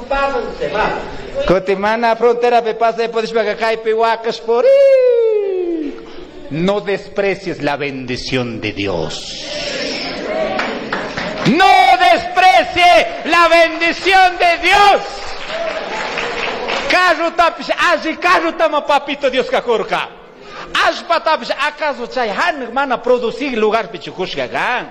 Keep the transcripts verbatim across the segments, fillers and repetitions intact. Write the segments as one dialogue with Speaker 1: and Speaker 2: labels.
Speaker 1: paso se va.
Speaker 2: Cutin mana fronterapi pasay pudishpaka kaypi waqash puri. No desprecies la bendición de Dios. No desprecie la bendición de Dios. Carrotapish alli carrotama papito Dioska kurka. Allpatapish acaso chay hanaq mana producir lugarpi chukushka kan.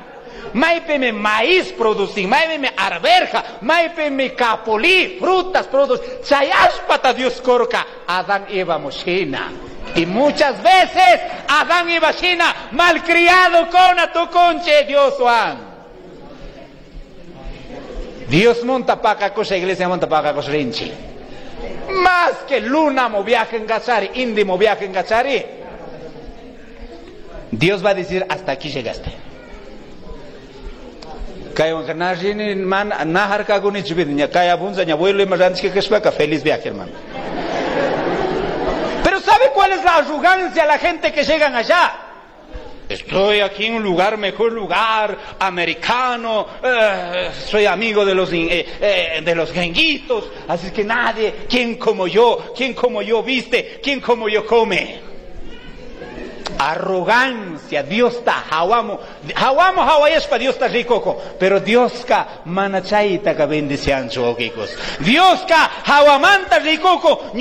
Speaker 2: Maypimi maíz producir, maypimi arveja, maypimi capulí, frutas producir. Chay allpata Dios kurka Adán Eva mushina. Y muchas veces Adán Eva shina malcriado con a tu conche Dios Juan. Dios monta pakakusha, iglesia monta pakakusha rinchi. Más que luna mo viaje en Gachari, indi mo viaje en Gachari. Dios va a decir, hasta aquí llegaste. Kaywanka na rini man na harkakunichu ña kay abunza ña abuelo ima rantishka kashpaka feliz viaje hermano. Pero ¿sabe cuál es la arrogancia de la gente que llegan allá? Estoy aquí en un lugar, mejor lugar, americano, eh, soy amigo de los, eh, eh, de los gringuitos, así que nadie, ¿quién como yo? ¿Quién como yo viste? ¿Quién como yo come? Arrogancia, Dios está, hawamo, hawamo hawayashpa Dios está rico, pero Dios ka mana chayta ka bendicianchu wawqikos. Dios ka hawamanta ricuco,